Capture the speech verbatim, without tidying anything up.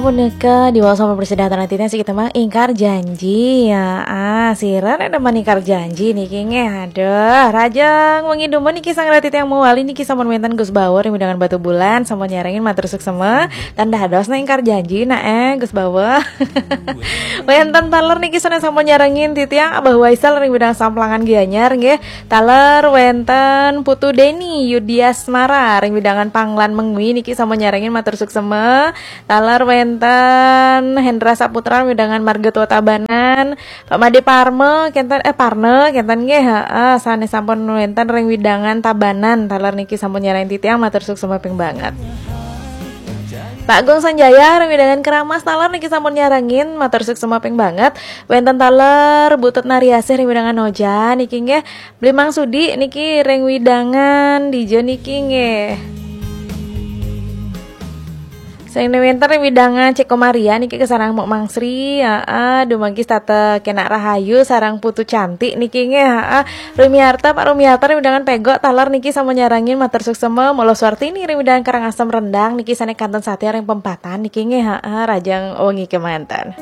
Punika diwaos sama presiden titiang, siki tembang Ingkar Janji. Ya, ah, sira nek demen ingkar janji niki nggih. Aduh, rajang wengi dumun niki sang rati tiang mawali niki sampun wenten Gus Bawa ring wewidangan Batubulan, sampun nyarengin, matur suksema. Tan dados nek ingkar janji nak eh Gus Bawa. Wenten taler niki sané sampun nyarengin titiang Abah Waisal ring wewidangan Samplangan Gianyar nggih. Taler wenten Putu Deni Yudiasmara ring wewidangan Panglan Mengwi niki sampun nyarengin, matur suksema. Taler wenten Hendra Saputra wewidangan Marga Tua Tabanan, Pak Made Parma kenten, eh, Parna kenten nggih, heeh, sané sampun wenten ring wewidangan Tabanan, taler niki sampun nyarengin titiang, matur suksema ping banget. Pak Gung Sanjaya ring wewidangan Keramas, taler niki sampun nyarengin, matur suksema ping banget. Wenten taler Butut Nariasih ring wewidangan Ojan niki nggih. Bli Mang Sudi niki ring wewidangan dija niki nggih. Sing wenten ring wewidangan Ceko Maria niki kasareng Mok Mang Sri, heeh, dumogi setata kenak rahayu sareng Putu Cantik niki nggih, heeh. Rumiarta, Pak Rumiarta ring wewidangan Pegok, taler niki sampun nyarengin, matur suksema. Mula Suartini ring wewidangan Karangasem Rendang niki sané kantun satia ring pempatan niki nggih, heeh, rajang wengi kemanten.